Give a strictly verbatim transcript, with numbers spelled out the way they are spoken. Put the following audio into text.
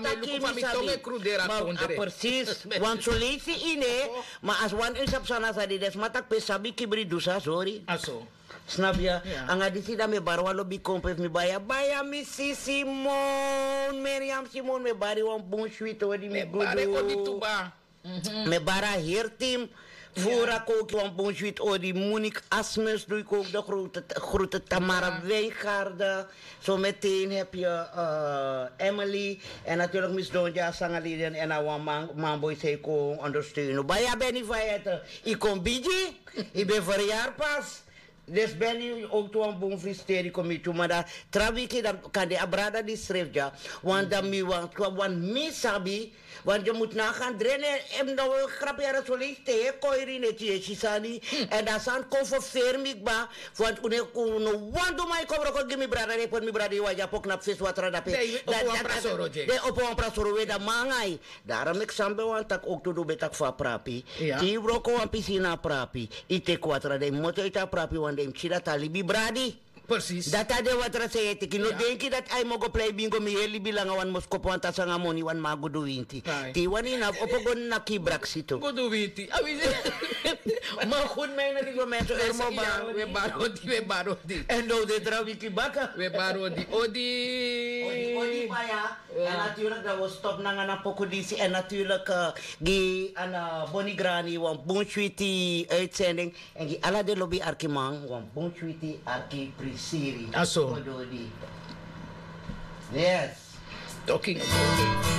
ma mi luku fa mi tongo e kruderi a kondre. Presis. Wan solisi ine. Ma as wan un sabi sani a sa di den sma taki pe sabi kibri du sa sori. Snap ya. Anga disi dan mi e bari wan lobi kompe fu mi baya baya mi si simon meriam simon mi e bari wan bun switi odi mi gudu. Mi e bari a heri tim. Furu a koki wan bun switi odi munik asmus du yu koki de grote tamara wijngarde. Zometeen heb je emily. En natuurlijk mi sidon dya sanga leden en a wan man man boi sei kon ondersteunu baya beni fayete. Yu kon bigi. Yu ben verjaar pas. Dus ben yu ook tu wan bun fristeri kon mi tu ma dan tra wiki dan kan de a brada di sref dya. Want dan mi want want mi sabi. Want yu mus na gan drene. En dan wil grapi yara soli te ye koiri neti ye sisani. En dan san kon verferi mi kba. Want un no wan du man yu kon broko gi mi brada de poti mi brada yu wan dya pok na fesi watra dape. Den opo wan prasoro we dan man nanga yu. Darom eki san ben wani taki owktu du ben taki fu a prapi. Te yu wroko wan pisi ini a prapi. Yu teki watra dan yu moto ete a prapi wan dan yu mus si dati a libi bradi. Dati a den watra san yu e teki no denki dati a yu mogo plei bingo mi heri libi langa wani moskopu wan tasi nanga moni wani man gudu winti. Te yu wani yu na fu opo go naki yu braksi tu. Gudu winti. Ma gudu mi a ini a disi momento. Ermo baro we baro di we baro di. En now den dra wiki baka we baro di odi. Odi odi baya. En natuurlik dan wi o stop nanga na poku disi en natuurlik gi ana boni grani wan bun switi uitzending. En gi ala den lobi arkiman wan bun switi arki prisiri. Aso. Yes. Talking about